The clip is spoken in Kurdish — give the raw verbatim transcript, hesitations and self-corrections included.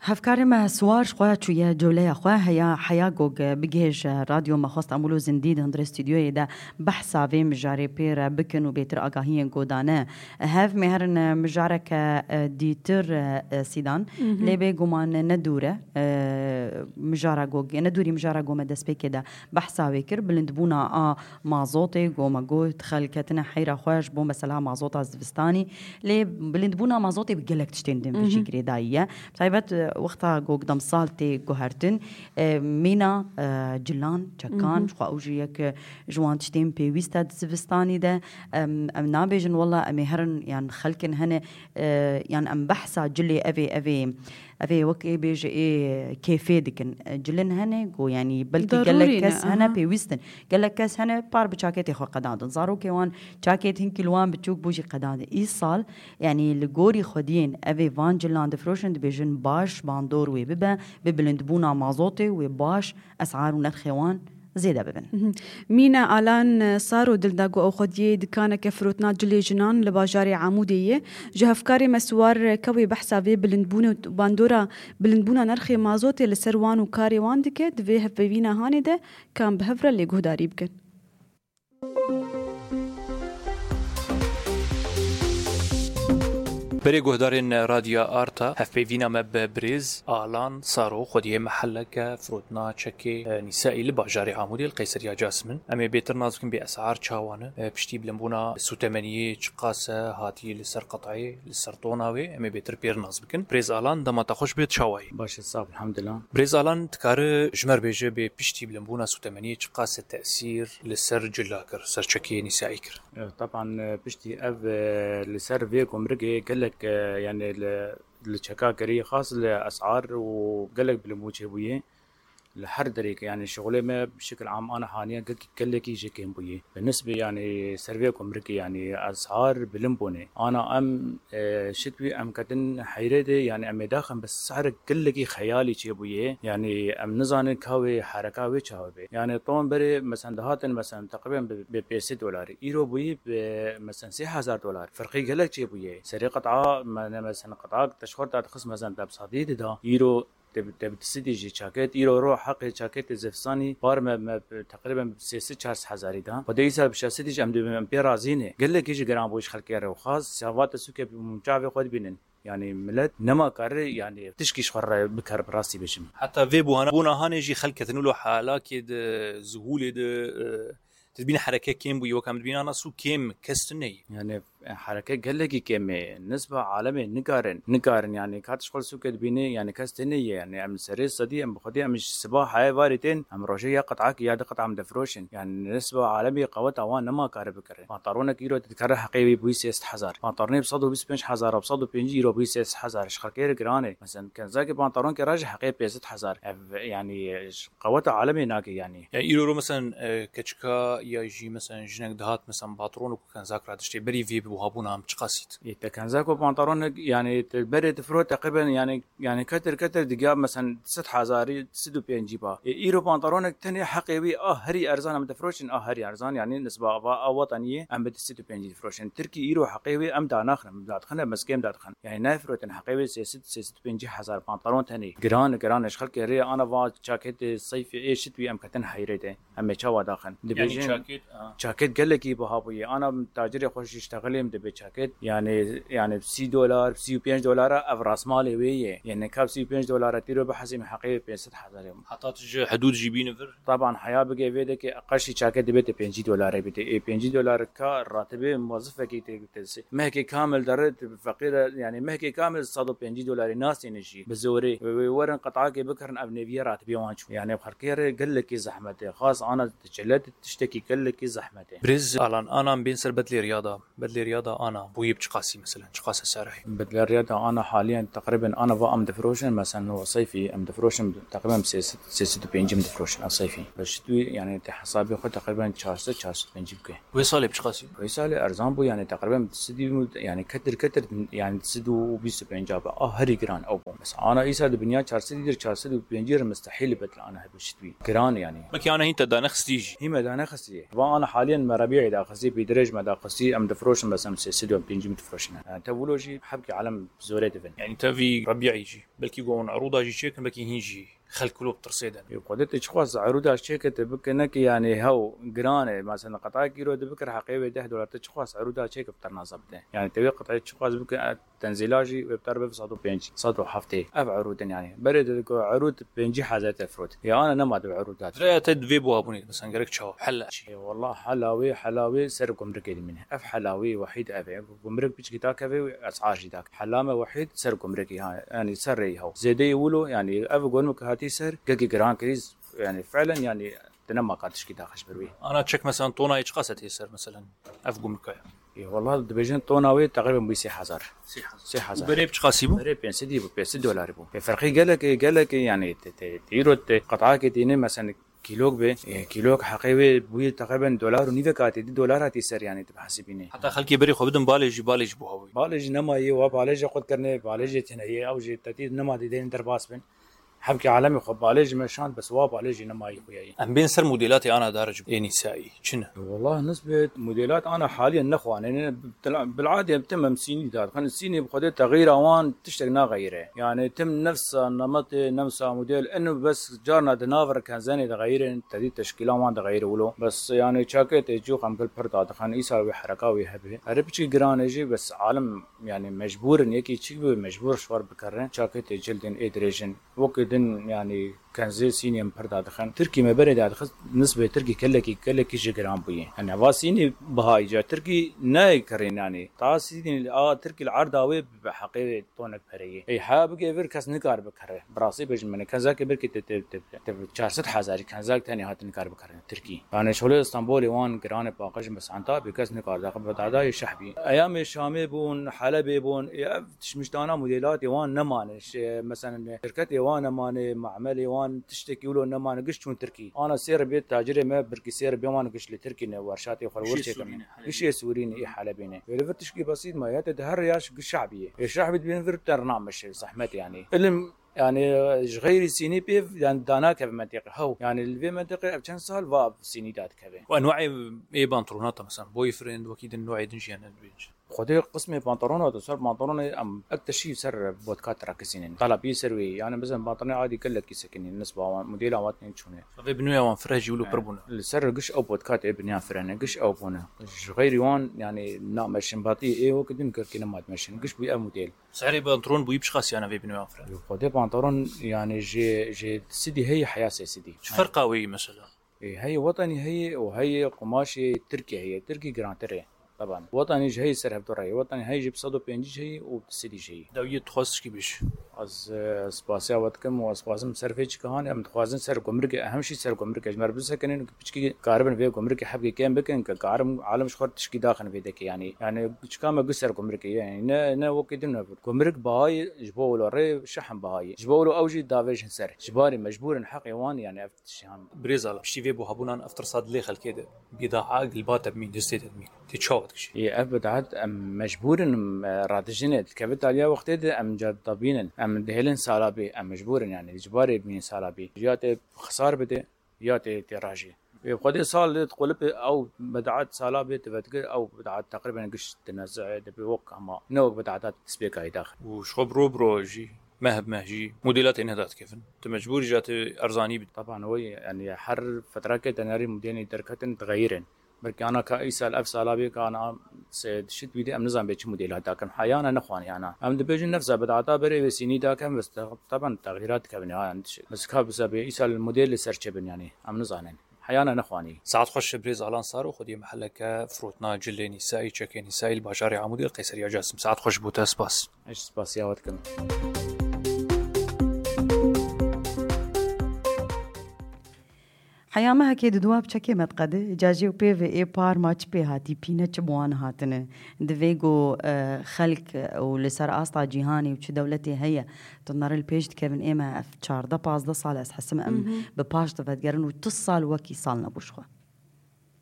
Hevkarê me Siwar ji xwe çûye cewleya xwe, heya heya gog bigihêje radyo me xwest em wilo zindî di hundirê stûdyoyê de behsa vê mijarê pê re bikin û bêtir agahiyên godane. Hev me herin mijareke, e, dîtir, e, Sîdan. Mhm. Lê bê guman ne dûr e, e, mijara gog, ne dûrî mijara gome destpêkê de behsa wê kir. Bilindbûna a mazotê, gome got, xelk ketine heyra xwe ji bo mesela mazota zivistanî. Lê bilindbûna mazotê bi gelek tiştên din vê jî Mhm. girêdayî ye. Taybet, e, wexta gog demsal tê guhertin, e, mîna, e, cilan, çekan, Mhm. ji xwe ew jî yek, e, ji wan tiştên pêwîst e di zivistanî de. Em, em nabêjin wela em ê herin, yan xelkin hene, e, yan em behsa cilê evê, evê, evê wek ê bêje ê kêfê dikin. E, cilin hene, go, yanî belkî Darûrî gelek ne, kes hene aha. pêwîst in. Gelek kes hene par bi çaketê xwe qedandin. Zarokê wan çakêt hinkî li wan biçûk bû jî qedandin. Îsal, yanî li gorî xwediyên evê van cilan difiroşin, dibêjin baş bandor wê bibe, bi bilindbûna mazotê wê baş esar û nerxê wan zêde bibin. Mhm. Mîna Alan Saro dil da ku ew xwediyê dikaneke firotina cilê jinan li bajarê Amûdê ye. Ji hevkarê me Siwar Kewê behsa vê bilindbûn û bandora bilindbûna nerxê mazotê li ser wan û karê wan dike. Di vê hevpeyvîna hanê de kan bi hev re lê guhdarî bikin. Berê guhdarên Radya Arta, hevpeyvîna me bi birêz Alan Saro, xwediyê mehelleke firotina çekê, e, nîsaî li bajarê Amûdê li Qeyseriya Casmin. Em ê bêtir nas bikin bê esar çawan e, e, piştî bilimbûna sûtemeniyê çiqas e hatî li ser qetayê, li ser tona wê, em ê bêtir pêr nas bikin. Birêz Alan, dema te xweş bêt, çawayî? Baş e, sax, elhamdulillah. Birêz Alan, dikare ji me re bêje bê piştî bilimbûna sûtemeniyê çiqas e tesîr li ser cila kir, ser çekê nîsaî kir? E, teban, e, piştî ev, e, li ser vê gumrikê gelek, e, yani li, li çeka kirî xas li esar û gelek bilimbûn çêbûye. Li her derê ke, yani şixulê me bi şekil am ana haniye gel-, gelekî jê kêm bûye. Bi nisbê, yani ser vê gumrikê, yani esar bilind bûne. Ana em, e, şitwî em ketin heyre de, yani em ê daxin bi sehrik gelekî xeyalî çêbûye. Yani em nizanin ka wê hereka wê çawa bê. Yani ton berê, mesen dihatin, mesen teqrîben bi, bi pênc sed dolarî. Îro bûyî bi, mesen sê hezar dolar. Ferqî gelek çêbûye. Serê qet'a, me-, ne, mesen qet'ak te ji xwe re dadixist, mesen te bi sedî dida. Îro te bi, te bi sedî jî çaket. Îro ro heqê çaketê zivistanî par me, me bi teqrîben sê sed çar sed hezarî da. Xwedê îsal bi şeş sed jî em dibin, em pê razî ne. Gelekî jî giran bû ji xelkê re û xas, siyavate sûkê bi çavê xwe dibînin. Yani millet nema kare, yani tişkî ji xwe re bikar, bi rastî bêjim. Heta vê buhana, bûna hanê jî xelk ketin wilo halakê de, zuhûlê de, e, tu dibînî hereke kêm bûyî, wek em dibînana sûk kêm, kes tune ye. Yani, e, hereke gelekî kêm e. Nisba alemê nikarin, nikarin, yani ka tu ji xwe sûkê dibînî, yani kes tune ye. Yani em serê sedî, em bi xwedî, em ji siba heye varî tên, em rojê ya qet'akî ya di qet'a em difiroşin. Yani nisba alemê qeweta wan nema kare bikare. Pantaronek îro dikare heqê wî bûyî sê sed hezar. Pantaronê bi sed û bîst û pênc hezar, bi sed û pêncî îro bûyî sê sed hezar. Ji xelkê re giran e. Mesela kenzakê pantaronkê re jî heqê pênc sed hezar. Ev, yani, ji qeweta alemê nake, yani. Yani îro ro, mesela, e, keçika ya jî, mesela, jinek dihat, mesela, patron û kenzak re diştê berî vê bi buhabûna em çiqasît? E, te kenzak û pantaronek, yani, te berê difirot teqrîben, yani, yani, ketir ketir digiya, mesela, sed hezarî, sed û pêncî ba. E, îro pantaronek tenê heqê wî a herî erzan em difiroşin, a herî erzan, yani, nisba ava a wetaniyê em bi sed û pêncî difiroşin. Tirkî îro heqê wî em danaxin, em dadixin, em mezgêm dadixin. Yani, nayfirotin heqê wî sê sed, sê sed û pêncî hezar pantaron tenê. Giran, giran e, ji xelkê rê ana va çaketê seyfê ê şitwî em ketin heyrê de. Em ê çawa daxin? Yani Dibêjin çaket, ha. Çaket gelekî biha bûye. Ana tacirê xwe jî ştexilê em dibê çaket. Yani, yani sî dolar, sî û pênc dolara ev rasmalê wê ye. Yani ka sî û pênc dolara tîro bihesîm heqê pênc sed hezar ye. Heta tu ji hidûd jî bîne vir? Taban heya bigê vê de ke qeşî çaket dibê te pêncî dolarê bidê. Ê pêncî dolar ka ratibê muwezifekî tê, tê, mehkê kamil dere, tu feqîr e, yani mehkê kamil sed û pêncî dolarê nasîne jî. Bi zorê. Wê, wê werin qet'akê bikirin ev nêviye ratibê wan çû. Yani xelkê re gelekî zehmet e. Xas ana diçilet tiştekî gelekî zehmet e. Birêz Alan, ana em bên ser bedlêriya da. Bedlêriya da ana, bûyî bi çiqasî, mesela, çiqas e serayê? Bedlêriya da ana haliyen teqrîben ana va em difiroşin, mesela, no seyfî em difiroşin, teqrîben sê sed, sê sed û pêncî em difiroşin, a seyfî. Bi şitwî, yani, te hesabê xwe teqrîben çar sed, çar sed û pêncî bike. Wê salê bi çiqasî? Wê salê erzan bû, yani, teqrîben sed û, yani, ketir ketir, yani, sed û bîst û pênc be. A herî giran ew bû. Bes ana îsal di binya çar sed dir, çar sed û pêncî re mustehîl bet li ana hebû şitbî. Giran yanî. Belkî ana hîn te danexistî jî. Hî me danexistî. Va ana haliyen me rebî'ê daxistî, pîdirêj me daxistî, em difroşin, bes em sê sed û pêncî min difroşin. Yani te wilo jî hebkî alem zorê divin. Yani te vî rebî'ê jî. Belkî go hûn erûda jî çêkin, belkî hîn jî xelk wilo bi tirsê de. Yo, Xwedê te çi xwest erûda çêke te bike, ne ki yani hew giran e. Mesela qetayek îro de bikir heqê wê deh dolar, te çi xwest erûda çêke bi ternaza bide. Yani te wê qetayê çi xwest bike, e, tenzîla jî wê bi ter bibe sed û pêncî, sed û heftê. Ev erûdin yani. Berê de ku erûd pêncî hezar te firot. Ya ana nema de erûda. Raya te divê buha bûnê, mesela gerek çawa? Hela çi? E, wallah hela wê, hela wê ser gumrikê dimîne. Ev hela wê wehîd ev e. Gumrik piçkî dakeve û esar jî dak. Hela me wehîd ser gumrikê ha. Yani ser rêyî hew. Zêdeyê wilo yani ev gumrik hatî ser, gelkî giran kirî, yani fiilen yani te nema ka tişkî daxist ber wî. Ana çek mesela tonayê çiqas e tê ser mesela ev gumrika ya? E, wallah dibêjin tona wê teqrîben bû sê hezar. Sê hezar. Sê hezar. Û berê bi çiqasî bû? Berê pênc sedî bû, pênc sed dolarî bû. E, ferqî gelek, gelek yani te, te, te îro te qetayekê tîne mesela kîlok be, e, kîlok heqê wê bûye teqrîben dolar û nîvek hatî, di dolar hatî ser yani tu bihesibînê. Heta xelkê berê xwe bidin balê jî, balê jî buha bûye. Balê jî nemayê, wa balê jî qut kirine, balê jî tine ye, ew jî tetî nema didên derbas bin. Hevkê alemê xwe balê jî me şand, bes wa balê jî nemayî xuyayî. Em bên ser modêlatê ana dar ji ê nîsayî. Çi ne? Wallah nisbet modêlat ana haliyen nexwanê ne. Bil'adê tim em sînî dadixin. Sînî bi xwedê texîra wan tiştek naxeyire. Yani tim nefsa nemetê, nefsa modêl inu bes carna di nav re kenzenê dixeyirin, tedî teşkîlan wan dixeyire wilo. Bes yani çakê tê cûx em gil pir dadixin. Îsal wê hereka wê hebe. Erê piçî giran e jî bes alim yani mecbûr in, yekî çi bû mecbûr ji xwe re bikerin. Çakê tê cildin ê dirêjin. Wekî din, yanî kenzê sînê em pir dadixin. Tirkî me berê dadixist, nisbê tirkî gelekî, gelekî ji giran bûye. Yanî va sînê bihayî ca tirkî nayê kirîn yanî. Ta sînê a tirkî li erda wê bi heqê tonek pereyê. Ey ha bigê vir kes nikar bikere. Bi rastî bêjim min kenzakê birkî te, te, te, te çar sed hezarî kenzak tenê hat nikar bikere tirkî. Yanî şolê Stenbolê wan giranê paqij bes Entabê kes nikar daxin bi dadayê şehbî. Eyamê Şamê bûn, Helebê bûn, ê ev tişmiştana modêlatê wan nemane. Ş-, mesela şirketê wan nemane, mamelê wan tiştekî wilo nemane, giş çûn Tirkî. Ana sê ribê tacirê me birkî sê ribê wan giş li Tirkî ne, werşatê xwe li wir çêkin. Gişê Sûrî ne, ê Helebê ne. Wê li vir tişkî besît ma, ya te di her yaş giş şehbî ye. Ê şehbî dibên vir te rina meşe, zehmet yanî. Ilim Yani ji xeyrî sînî pê yani danakeve menteqe. Hew. Yani li vê menteqe ev çend sal va sînî dadikeve. Û enwayê ê pantolonata mesela boyfriend wekî din nûê din jî hene dibêje. Xwedê qismê pantolona tu ser pantolonê em ek teşî ser botka trakisînin. Talabî ser wê. Yani mesela pantolonê adî gelekî sekinî nisba wan modêla wan tên çûne. Vê bi nûya wan fire jî wilo pir bûne. Li ser giş ew botka tê biniyan firene. Giş ew bûne. Ji xeyrî wan yani nameşin batî ê wekî din girkî nema dimeşin. Giş bû ev modêl. Serê pantolon bûyî bi çiqas yana vê binê wan fire? Xwedê pantolon yani ji, ji sidî heye heya sê sidî. Çi ferqa wê yî mesela? Ê, heye wetanî heye û heye qumaşê tirkî heye. Tirkî girantir e. Taban. Wetanî ji heye ser hevdor heye. Wetanî heye ji bi sed û pêncî heye û bi sidî heye. Dawiyê dixwaz tişkî bêj. Ez, e, spasiya we dikim û ez dixwazim ser vê çika hanê. Em dixwazin ser gumrikê, ehem jî ser gumrikê. Ji me re bisekinin, piçkî karibin vê gumrikê hebkê kêm bikin, ke karim alim ji xwe re tişkî daxin vê dekê, yanî. Yani çika me giş ser gumrikê, yani ne, ne wekî din ne. Gumrik bahayê ji bo wilo rê şehin bahayê. Ji bo wilo ew jî davêjin ser. Ji barî mecbûr in heqê wan, yani ev tiştî han. Birêz Alim, piştî vê buhabûnan ev tirsa dilê xelkê de bîdaa gilba te bimîn, destê te bimîn. Tê çawa dikişî? Ê, ev bidat em mecbûr in, em, radijin e. Dikeve taliya wextê de em ca dabînin. Em dihêlin salabê, em mecbûr in yani. Ji barê bimîn salabê. Ya te xisar bide, ya tê, tê rajê. Ê, xwedê sal lê diqulipê ew bidat sala bê divedigir, ew bidat teqrîben giş dineze, dibê wek hema, ne wek bidata destpêkayî daxil. Û ji xwe bi ro bi ro jî, meh bi meh jî modêla tê neda dikevin. Tu mecbûr î ja tu erzanî bidî. Taban wê, yani her fetrake te nerî modêlê derketin dixeyirin. Belkî ana ka îsal ev sala bê ka ana se dişit bî de em nizan bê çi modêl hat dakin. Heyana nexwanî ana. Em dibêjin nefsa bidata berê wê sînî dakin, bes te-, taban texîrat dikevin ya, yani dişit. Bes ka bisa bê îsal modêl li ser çi bin yani, em nizanin. Heyana nexwanî. Saet xweş birêz Alan Saro, xwediyê mehelleke firotna cilê nîsayî, çekê nîsayî li bajarê Amûdê li Qeyseriya Casim. Saet xweş bo te, spas. Ez spasiya we dikim. Heya mehekê di dua bi çekê me diqede, ca jê û pê ve ê par ma çi pê hatî, pîne çi bi wan hatine. Divê ku, e, xelk û li ser asta cîhanê û çi dewletê heye, tu nere li pêş dikevin, ê me ev çardeh pazdeh sal ez hesim em Mhm. bi paş de vedigerin û tu sal wekî sal nebû ji xwe.